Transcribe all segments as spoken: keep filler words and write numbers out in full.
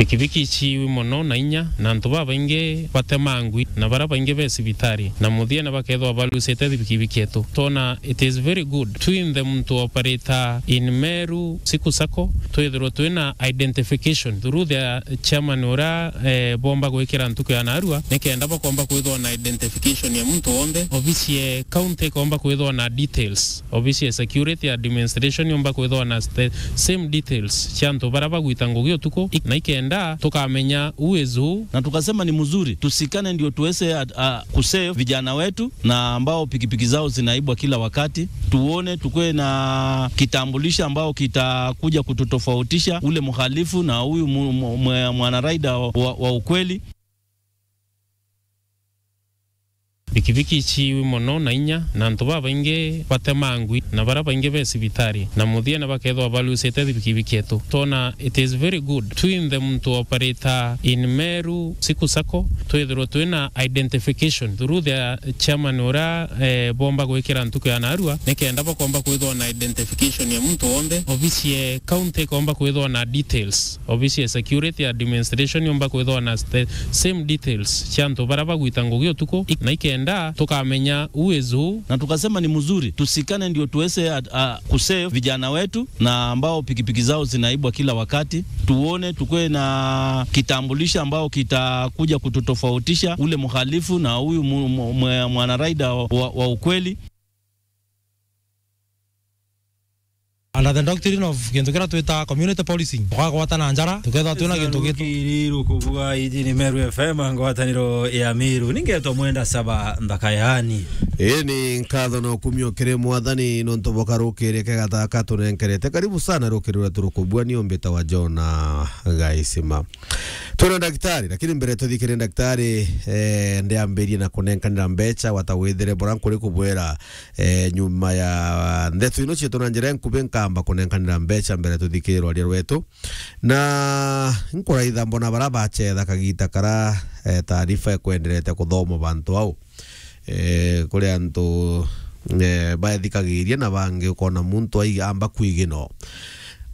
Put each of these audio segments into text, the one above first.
Pikipiki iciiwi mono na inya, na antu babaingi batemangwi, na baria baingi be cibitari, na muthiene bakethirwa balucite thibikibiki etu. Twona it is very good twinthe muntu operator in Meru Siku Sacco, twithirwe twina identification through the chairman uria, eh, bomba gwikira ntuku ya narua, nikenda bakomba kwithirwa na identification ya muntu wonthe. Obisi ya county ikomba kwithirwa na details. Obisi ya security administration yomba kwithirwa na the same details cia antu baria bagwita ngugi utuku, ik-, na ikenda tukamenya who is who. Na tukasema ni mzuri tusikane, ndio tuweze at-, a, kusave vijana wetu na ambao pikipiki zao zinaibwa kila wakati. Tuone, tukue na kitambulisho ambao kitakuja kututofautisha ule mhalifu na huyu mu-, mu-, mwe-, mwanaraida wa, wa, wa ukweli. Pikipiki iciiwi mono na inya, na antu babaingi batemangwi, na baria baingi be cibitari, na muthiene bakethirwa balucite thibikibiki etu. Twona it is very good twinthe muntu operator in Meru Siku Sacco, twithirwe twina identification through the chairman uria, eh, bomba gwikira ntuku ya narua, nikenda bakomba kwithirwa na identification ya muntu wonthe. Obisi ya county ikomba kwithirwa na details. Obisi ya security administration yomba kwithirwa na the same details cia antu baria bagwita ngugi utuku, ik-, na ikenda tukamenya who is who. Na tukasema ni mzuri tusikane, ndio tuweze at-, a, kusave vijana wetu na ambao pikipiki zao zinaibwa kila wakati. Tuone, tukue na kitambulisho ambao kitakuja kututofautisha ule mhalifu na huyu mu-, mu-, mwe-, mwanaraida wa, wa, wa ukweli. Under the doctrine of gintu kiria twita community policing, twagwatana njara, tukethirwa twina gintu gitu. Rukiri rukubua, iji ni Meru F M, ngwataniro ya Meru. Ningetwa Mwenda Saba Nthakayani. Ii ni nkatho na ukumio kiri Mwathani nontu bwa karukiri kega taka tunenkerete. Karibu sana rukiri rwetu rukubua, ni umbita wa Jona Gaisima. Twina ndagitari, lakini mbere tuthikire ndagitari, eh, ndiambirie na kunenkanira mbecha, wata withire bora nkuri kubwira, eh, nyuma ya ndeto ino cietu na njira nkubi, nkamba kunenkanira mbecha mbere tuthikire rwaria rwetu. Na nkuraitha mbona bara bachetha kagita kara, eh, taarifa ikwenderete kuthomwa bantu au. Eh, kuri antu, eh, baethikagiria na bangi ukona muntu ai-, amba kwigino.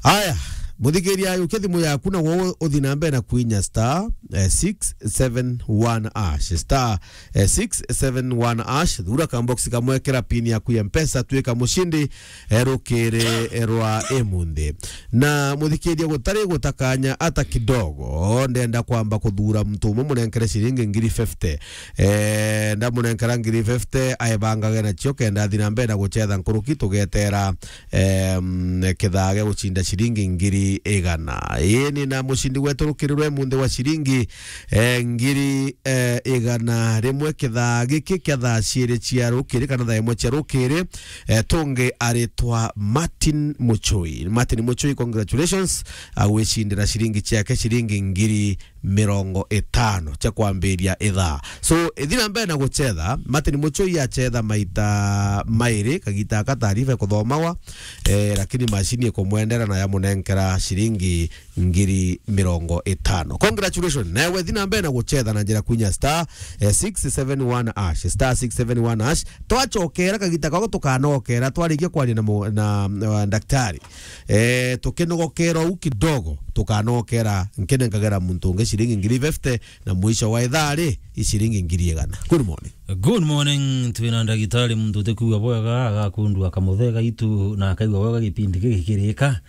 Aya, muthikiria, yukia thimu yaku na wo uthi na mbere na kwinya star, eh, six seven one hash, star, eh, six seven one hash, thura kambox kamwe, kira pin yaku ya Mpesa, twika mushindi, eh, rukiri, eh, rwa imunthi. Na muthikiria, gutari gutakanya ata kidogo, ndenda kwamba kuthura muntu umwe munenkere ciringi ngiri fifty. Eh, ndamunenkera ngiri fifty, aebangage nacio kenda athi na mbere na guchetha nkuruki, tugetera, em, kithaa gia gucinda ciringi ngiri igana. Ii ni na mucindi wetu rukiri rwe munthi wa ciringi, eh, ngiri, eh, igana rimwe kithaa giki kia thaa ciiri cia rukiri kana thaa imwe cia rukiri, eh, tungi aritwa Martin Muchui. Martin Muchui, congratulations, agwicindira ciringi ciake ciringi ngiri mirongo itano cia kwambiria ithaa. So, ithi na mbere na guchetha, Martin Muchui achetha maita mairi, kagita aka taarifa ikuthomagwa, eh, lakini macini ikumwendera na yamunenkera ciringi ngiri mirongo itano. Congratulations. Nawe thi na mbere na guchetha na njira kwinya star, eh, six seven one hash, star six seven one hash. Twachokera kagita kako tukanokera, twarikia kwaria na mu-, na, na daktari. Eh, tukinogokera uu kidogo, tukanokera nkinenkagera muntu ungi ciringi ngiri fifty, na mwisho wa ithaa ri, i ciringi ngiri igana. Good morning. Good morning, twina ndagitari muntu utikwigua bwega, agakundua kamuthega itu na akaigua bwega gipindi giki kirika.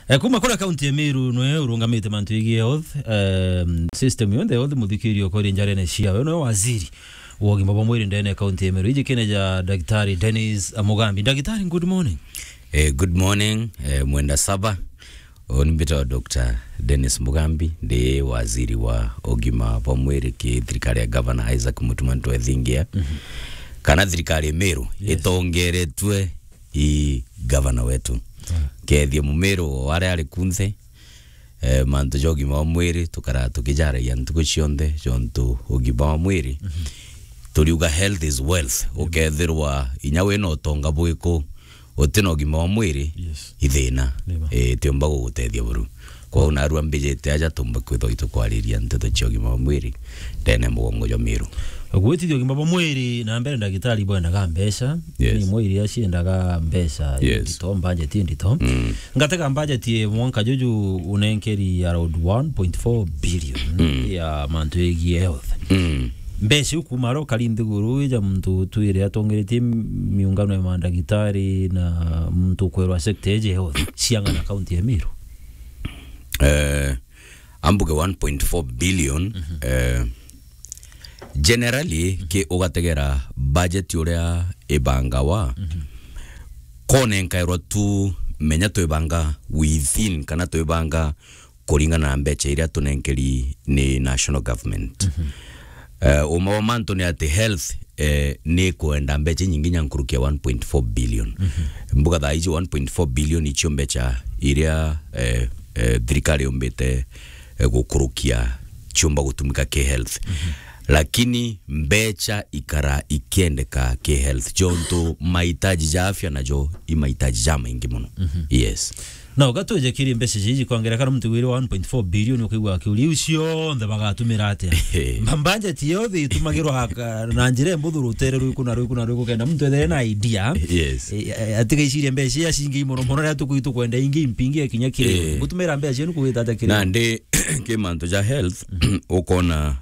Eh, kuma kuria kaunti ya Meru nwe urungamite mantu yegii health, em, system yonthe health, muthikirio kori njarene ciawe, nwe waziri wa ugima bwa mwiri ndene ya kaunti ya Meru. Iji kine ja Daktari Dennis Mugambi. Daktari, good morning. Eh, good morning, eh, Mwenda Saba. Uni mbitagwa Doctor Dennis Mugambi, ndi waziri wa ugima bwa mwiri ki thirikari ya Governor Isaac Mutuma Ntwethingia. Mhm. Kana thirikari ya Meru, yes, itongeretwe i governor wetu. Ah. Kethie Mumiru o aria ari kunthe, eh, mantu ja ugima bwa mwiri, tukara tukijaragia ntuku cionthe, jontu ugima bwa mwiri, mhm, turiuga health is wealth. Amen. Ukethirwa inya wina utonga bwiku, utina ugima wa mwiri, Yes. ithina. Nima. Eh, tiumba gugutethia buru. Kwou narua mbijite aja tumbe kwithwa itukwariria nteto cia ugima wa mwiri ndene mugongo jwa Miru. Gwitithia ugima bwa mwiri na mbere, ndagitari bwendaga mbeca. Yes. Ni mwiri aciendaga mbeca Yes. indito, budget indito. Mm. Ngatega budget ye mwanka juju unenkeri around one point four billion Mm. ya mantu yegie health. Mm. Mbeca iu kuma aro kari nthiguru ija muntu twire atongeritie miungano ya mandagitari na muntu kwerwa sector eje health ciang'ana kaunti ya Miru? Eh, ambuge one point four billion, eh, generally, ki ugategera budget uria ibangawa, konenkairwa tu menya twibanga within kana twibanga kuringana na mbecha iria tunenkeri ni national government. Eh, uma wa mantu ni ati health, eh, ni kwenda mbecha nyingi nya nkuruki ya one point four billion. Mbuga thaa iji one point four billion icio mbecha iria, eh, eh, thirikari yumbite, eh, gukurukia ciumba gutumika ki health. Lakini mbecha ikara ikiendeka ki health. Jontu mahitaji ja afya najo i mahitaji ja maingi muno. Yes. Na ugatwije kiri mbeca iji kwangera kana muntu wiri one point four billion ukigwa akiuria iu cionthe bagatumira atia? Mba-, budget yothe itumagirwa aka-, na njira imbuthu rutere rwiku na rwiku na rwiku kenda muntu ethere na idea. Yes. E, e, atiga iciria mbeca iria cingi muno muno riria tukui tukwenda ingi impingi ya kinya kiri. Eh. Gutumira mbeca cienu kugita atia kiri? Na ndi ki mantu ja health, ukona